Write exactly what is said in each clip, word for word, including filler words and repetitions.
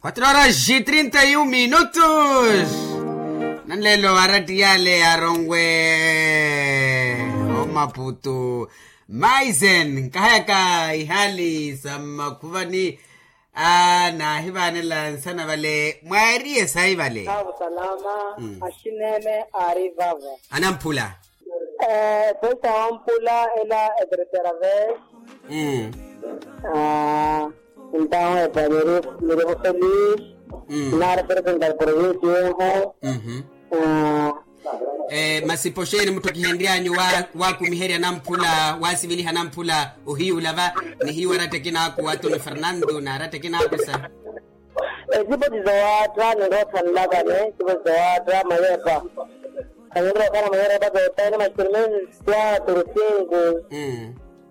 Quatro horas e trinta e um minutos. Nanlelo aratti yale aronwe omaputu. Maisen nkahayaka ihali sa mmakhuvani. Aa nahivanela nsana vale mwaeriye sayi vale. Avu salama. Ashinene ari vavo anamphula. Pesa wampula ela etertera ve. Entaho epa nirivo feliz. Nari presentar provinsi yeho. Masi poxeeni mutthu kihenryanyu waakumiherya namphula waasiviliha namphula ohiyuula va. Nihiyu aratta ekinaaku antoni fernando naaratta ekinaaku sa. Esipoti zowaatta ninroothanlakani esipoti zowaatta mayepa. Khaninrookhala mayepa zotaini maxirmeni. Quatro cinco.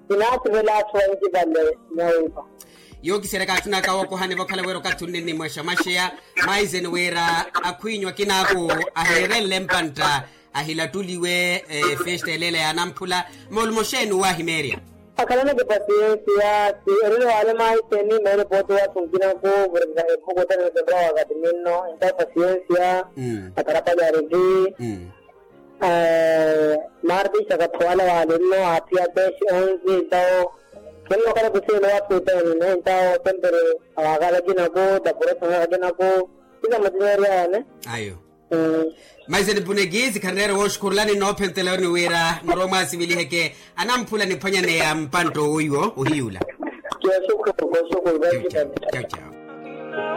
Kinaasivela atthu anci vale. Nyawimpa. Yookiseryaka atthunaka wookohani vokhala wira okathi unni nimwexa mwaxeya. Maiseni wira akhwiinyu akinaaku aheerenle mpantta ahilattuliwe. Festa eleela ya anamphula moolumo xeeni owaahimeerya. Akhalaneke pasiyensiya. Si erele waale maiseni meele pooti waathu nkinaku. Vurikika ephuku othene nisenrwa wakathi ninno entawo pasiyensiya. Atarapali ariki. Maartista kathowala waale nno aathiya tesi onsi entawo. Khennookhala kusiwela waathu othene entawo sempre awaakala akinaku. Tapura esonhaka akinaku. Kila mutinyerya yane. Ayo. Maiseni punekisi khanreera wooxukhurulani noophentelani wira muromwe asiviliheke anamphula niphwanyaneya mpantta owoiwo ohiyuula. Kioxukhuru kioxukhuru.